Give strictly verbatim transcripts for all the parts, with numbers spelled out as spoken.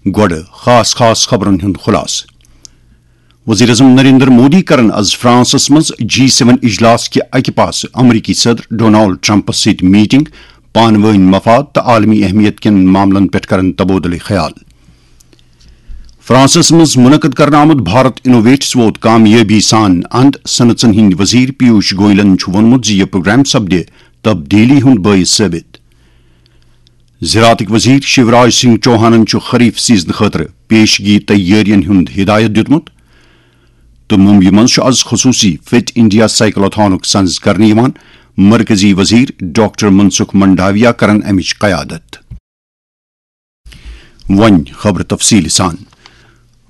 گۄڈٕ خاص خاص خبرن ہُنٛد خلاصہٕ۔ وزیر اعظم نریندر مودی کرن از فرانسس منٛز جی سیون اجلاس کہِ اکہِ پاسہٕ امریکی صدر ڈونالڈ ٹرمپس سۭتۍ میٹنگ، پانہٕ وٲنۍ مفاد تہٕ عالمی اہمیت کٮ۪ن معاملن پٮ۪ٹھ کرن تبادلہٕ خیال۔ فرانسس منٛز منعقد کرنہٕ آمُت بھارت انوویٹس ووت کامیٲبی سان اند۔ صنعژن ہٕنٛدۍ وزیر پیوش گویلن چھُ ووٚنمُت زِ یہِ پروگرام سپدِ تبدیلی ہُنٛد باعث ثٲبت۔ زراعتٕکۍ وزیر شیوراج سنگھ چوہانن چھُ خریف سیزنہٕ خٲطرٕ پیشگی تیٲرین ہُنٛد ہدایت دیُتمُت تہٕ ممبیہِ منٛز چھُ از خصوصی فٹ انڈیا سائیکلاتھانُک سنز کرنہٕ یِوان۔ مرکزی وزیر ڈاکٹر منسکھ منڈاویا کرن امِچ قیادت۔ وۄنۍ خبرٕ تفصیٖل سان۔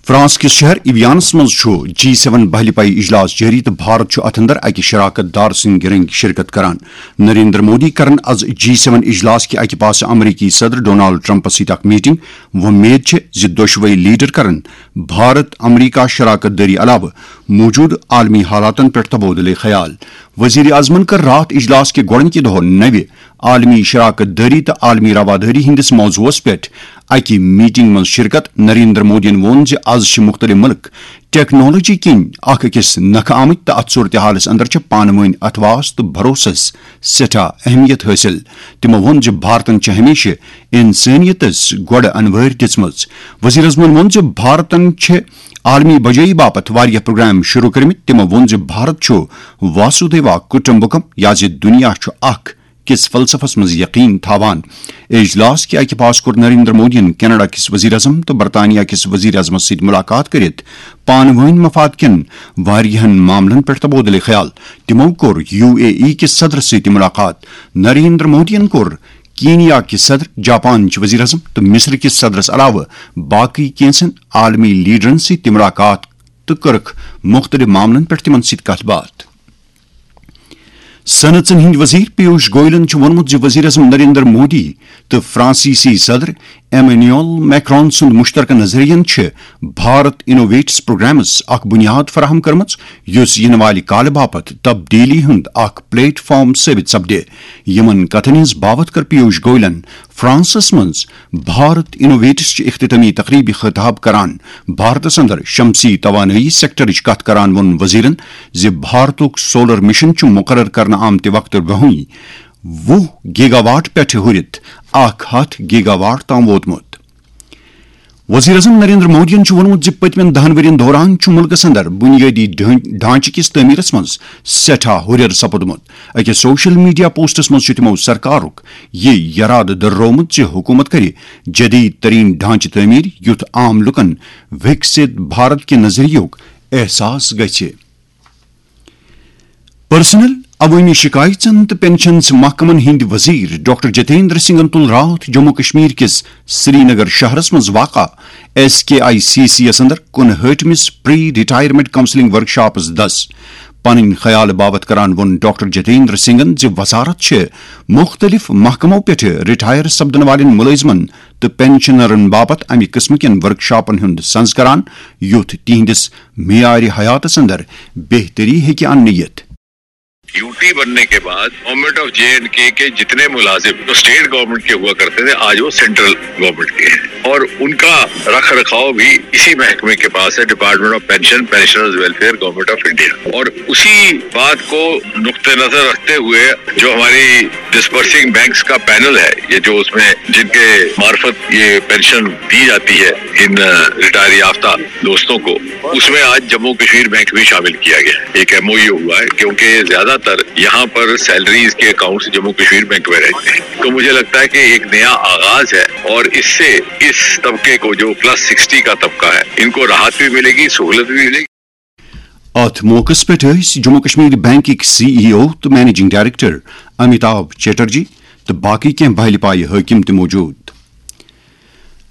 فرانس کِس شہر ایویانس منٛز چھُ جی سیون بہلہِ پایہِ اجلاس جٲری تہٕ بھارت چھُ اتھ اندر اکہِ شراکت دار سٕنٛدِ رٔنگۍ شرکت کران۔ نریندر مودی کرن از جی سیون اجلاس کہِ اکہِ پاسہٕ امریکی صدر ڈونالڈ ٹرمپس سۭتۍ اکھ میٹنگ۔ وۄمید چھِ زِ دۄشوے لیڈر کرن بھارت امریکہ شراکت دٲری علاوٕ موجودٕ عالمی حالاتن پٮ۪ٹھ تبادلہٕ خیال۔ وزیر اعظمن کٔر راتھ اجلاس کہِ گۄڈٕنِکہِ دۄہ نوِ عالمی شراکت دٲری تہٕ عالمی روادٲری ہٕنٛدِس موضوعس پٮ۪ٹھ اکہِ میٹنگ منٛز شرکت۔ نریندر مودیَن ووٚن زِ از چھِ مُختٔلِف مُلک ٹیکنالوجی کِنۍ اکھ أکِس نکھٕ آمٕتۍ تہٕ اتھ صورتحالس اندر چھِ پانہٕ وٲنۍ اتھواس تہٕ بھروسس سٮ۪ٹھاہ اہمیت حٲصِل۔ تِمو ووٚن زِ بھارتن چھِ ہمیشہِ انسٲنیتس گۄڈٕ انوٲرۍ دِژمٕژ۔ وزیر اعظمن ووٚن زِ بھارتن چھِ عالمی بجٲیی باپتھ واریاہ پروگرام شروع کٔرمٕتۍ۔ تِمو ووٚن زِ بھارت چھُ واسودیوا کٹمبکم، یا زِ دُنیا چھُ اکھ کِس فلسفس منٛز یقین تھاوان۔ اجلاس کہِ اکہِ پاس کوٚر نریندر مودیَن کینیڈا کِس وزیر اعظم تہٕ برطانیہ کِس وزیر اعظمس سۭتۍ ملاقات کٔرِتھ پانہٕ وٲنۍ مفاد کٮ۪ن واریاہن معاملن پٮ۪ٹھ تبادلہٕ خیال۔ تِمو کوٚر یو اے ای کِس صدرس سۭتۍ تہِ ملاقات۔ نریندر مودیَن کوٚر کینیا کِس صدر، جاپان چہِ وزیر اعظم تہٕ مصر کِس صدرس علاوٕ باقٕے کینژن عالمی لیڈرن سۭتۍ تہِ ملاقات تہٕ کٔرٕکھ مُختٔلِف معاملن پٮ۪ٹھ تِمن سۭتۍ کتھ باتھ۔ صنعژن ہٕنٛدۍ وزیر پیوش گویلن چھُ ووٚنمُت زِ وزیر اعظم نریندر مودی تہٕ فرانسیسی صدر ایمینول میکرون سُنٛد مشترکہ نظریہن چھِ بھارت انوویٹس پروگرامس اکھ بنیاد فراہم کٔرمٕژ، یُس یِنہٕ والہِ کالہٕ باپتھ تبدیلی ہُنٛد اکھ پلیٹ فارم ثٲبت سپدِ۔ یِمن کتھن ہٕنٛز باوتھ کٔر پیوش گویلن فرانسس منٛز بھارت انوویٹس چہِ اختتامی تقریبہِ خطاب کران۔ بھارتس اندر شمسی توانٲیی سیکٹرٕچ کتھ کران ووٚن وزیرن زِ بھارتُک سولر مشن چھُ مقرر کرنہٕ آمتہِ وقتہٕ برونٛہٕے وُہ گیگا واٹ پٮ۪ٹھٕ ہُرِتھ اکھ ہتھ گیگا واٹ تام ووتمُت۔ وزیر اعظم نریندر مودیَن چھُ ووٚنمُت زِ پٔتمٮ۪ن دَہَن ؤرین دوران چھُ مُلکَس اندر بُنیٲدی ڈھٲن-، ڈھانچہٕ کِس تعمیٖرَس منٛز سٮ۪ٹھاہ ہُرٮ۪ر سپُدمُت۔ أکِس سوشل میڈیا پوسٹَس منٛز چھُ تِمَو سرکارُک یہِ یرادٕ دٔرٲومُت زِ حکوٗمت کرِ جدید ترین ڈھانچہٕ تعمیٖر، یُتھ عام لُکَن وِکسِت بھارت کہِ نظریُک احساس گژھِ۔ پرسنل، عوٲمی شکایژن تہٕ پنشنز محکمن ہٕنٛدۍ وزیر ڈاکٹر جتیندر سنگھن تُل راتھ جموں کشمیر کِس سرینگر شہرس منٛز واقع S K I C C یس اندر کُنہٲٹھمِس پری ریٹائرمنٹ کاؤنسلنگ ورکشاپس دس۔ پنٕنۍ خیال باپتھ کران ووٚن ڈاکٹر جتیندر سنگھن زِ وزارت چھِ مُختٔلِف محکمو پٮ۪ٹھٕ ریٹائر سپدن والٮ۪ن مُلٲزمن تہٕ پنشنرن باپتھ امہِ قٕسمہٕ کٮ۪ن ورکشاپن ہُنٛد سنز کران، یُتھ تِہنٛدِس معیار حیاتس اندر بہتری ہیٚکہِ اننہٕ یِتھ۔ یو ٹی بننے کے بعد گورنمنٹ آف جے اینڈ کے کے جتنے ملازم جو اسٹیٹ گورنمنٹ کے ہوا کرتے تھے، آج وہ سینٹرل گورنمنٹ کے ہیں اور ان کا رکھ رکھاؤ بھی اسی محکمے کے پاس ہے، department of pension, pensioners welfare, government of India. اور اسی بات کو نقطۂ نظر رکھتے ہوئے جو ہماری ڈسبرسنگ بینکس کا پینل ہے، یہ جو اس میں جن کے معرفت یہ پینشن دی جاتی ہے ان ریٹائر یافتہ دوستوں کو، اس میں آج جموں کشمیر بینک بھی شامل کیا گیا ہے۔ ایک ایم او یو ہوا ہے، کیونکہ زیادہ تر یہاں پر سیلریز کے اکاؤنٹس جموں کشمیر بینک میں رہتے ہیں۔ تو مجھے لگتا ہے کہ ایک نیا آغاز ہے اور اس سے اس طبقے کو، جو پلس سکسٹی کا طبقہ ہے، ان کو راحت بھی ملے گی، سہولت بھی ملے گی۔ اتھ موقعس پٮ۪ٹھ ٲسۍ جموں کشمیر بینکٕکۍ سی ای او تہٕ مینیجنگ ڈائریکٹر امیتابھ چیٹرجی تہٕ باقٕے کینٛہہ بہلہِ پایہِ حٲکِم تہِ موجود۔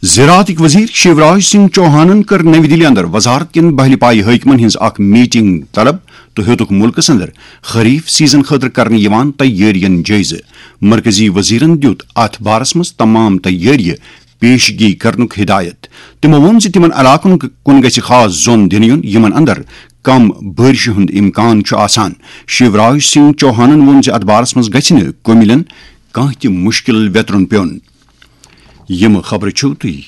زراعتٕکۍ وزیر شیوراج سنگھ چوہانن کٔر نَوِ دِلہِ اندر وزارت کٮ۪ن بہلہِ پایہِ حٲکمن ہٕنٛز اکھ میٹنگ طلب تہٕ ہیوٚتُکھ مُلکس اندر خریف سیزن خٲطرٕ کرنہٕ یِوان تیٲرین جٲیزٕ۔ مرکزی وزیرن دیُت اتھ بارس منٛز تمام تیٲریہِ پیشگی کرنُک ہدایت۔ تِمو ووٚن زِ تِمن علاقن کُن گژھِ خاص زون دِنہٕ یُن، یِمن اندر کم بٲرشہِ ہُنٛد امکان چھُ آسان۔ شیوراج سنگھ چوہانن ووٚن زِ اتھ بارس منٛز گژھِ نہٕ کُمِلٮ۪ن کانٛہہ تہِ مُشکل ویترُن پیوٚن۔ یِم خبرٕ چھِو تُہۍ